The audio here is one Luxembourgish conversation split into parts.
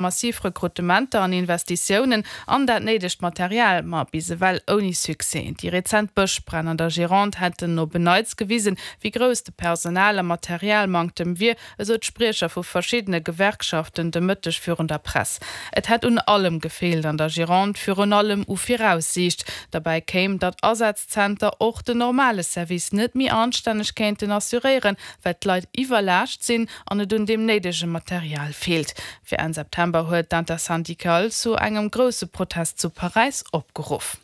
Massiv Rekrutementer an Investitiounen an dat néidegt Material, ma bis ewell ouni Succès. Déi rezent Bëschbränn an der Gironde hätten op en Neits gewisen, wéi grouss de Personal a Materialmanktem wier, esou d'Spriecher vu verschiddene Gewerkschaften de Mëtteg virun der Press. Et hätt un allem gefeelt an der Gironde, virun allem u Viraussiicht. Derbäi kéim, datt Asazzenter och den normale Service net méi anstänneg kéinten assuréieren, well d'Leit iwwerlaascht sinn an et un deem néidege Material feelt. Fir Enn September huet d'Intersyndicale zu engem grousse Protest zu Paräis opgeruff.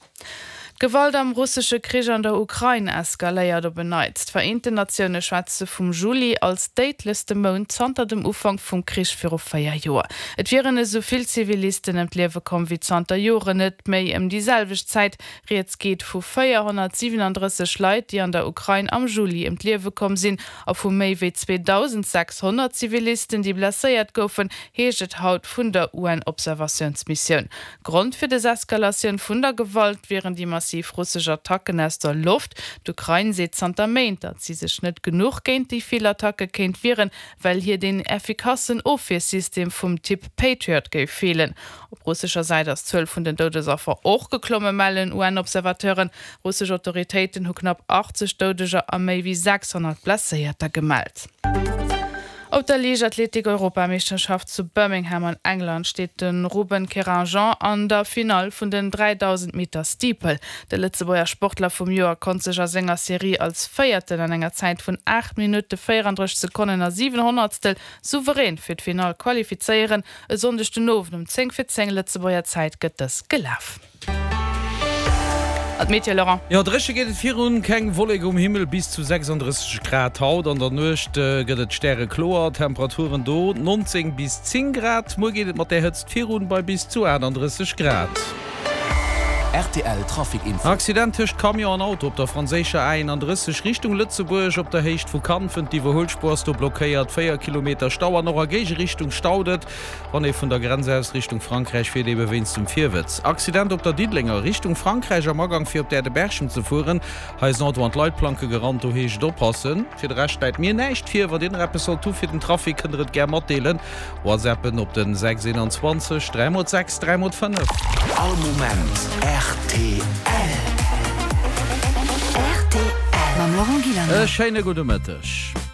D'Gewalt am russesche Krich an der Ukrain eskaléiert op en Neits. D'Vereenten Natioune schwätze vum Juli als déidlechste Mount zanter dem Ufank vum Krich viru 4 Joer. Et wieren esou vill Zivilisten ëm d'Liewe komm wéi zanter Joren net méi ëm déi selwecht Zäit. Rieds geet vu 437 Leit, déi an der Ukrain am Juli ëm d'Liewe komm sinn A vu méi wéi 2.600 Zivilisten, déi blesséiert goufen, heescht et haut vun der UN-Observatiounsmissioun. Grond fir des Eskalatioun vun der Gewalt wieren déi massiv russesch Attacken aus der Loft. D'Ukrain seet zanter Méint, datt si sech net genuch géint déi vill Attacke kéint wieren, well hir deen effikassen Ofwiersystem vum Typ Patriot géif feelen. Op russescher Säit ass d'Zuel vun den Doudesaffer och geklomme, mellen UN-Observateuren. Russesch Autoritéiten hu knapp 80 Doudeger a méi wéi 600 Blesséierter gemellt. Op der Liichtathletik-Europameeschterschaft zu Birmingham an England steet de Ruben Keringeon an der Finall vun den 3000 Meter Steeple. De Lëtzebuerger Sportler vum Joer konnt sech a senger Serie als Véierten an enger Zäit vun 8 Minutte 34 Sekonnen a 7 Honnertstel souverän fir d'Finall qualifizéieren. E Sonndeg den Owend um 10 fir 10 Lëtzebuerger Zäit gëtt dës gelaf. An d'Meteo, Laurent? Jo, dréche geet et virun, keng Wollek um Himmel, bis zu 36 Grad haut. An der Nuecht gëtt et stärekloer, Temperaturen do 19 bis 10 Grad. Muer geet et mat där Hëtzt virun bei bis zu 38 Grad. Rtl Trafic Info. Accident tëscht Camion an Auto op der franséischer A31 Richtung Lëtzebuerg op der Héicht vu Kanfen. D'Iwwerhuelspuer ass do blockéiert, 4 Kilometer Stau an och a Géigerichtung staut et. Wann ee vun der Grenz aus Richtung Frankräich fiert, ebe wéinst dem Virwëtz. Accident op der Diddelenger Richtung Frankräich am Agang fir op d'Äerdeberchem ze fueren. Hei ass en Auto an d'Leitplanke gerannt, do heescht et oppassen. Fir de Rescht läit mir näischt vir. Wann dir nach eppes sollt hu fir den Trafic, kënnt der et gär matdeelen. Whatsappen op den 6 21 3 mol 6 3 mol 5. All Moment rtl. Rtl mam Laurent Gillander. E schéine gudde Mëtteg.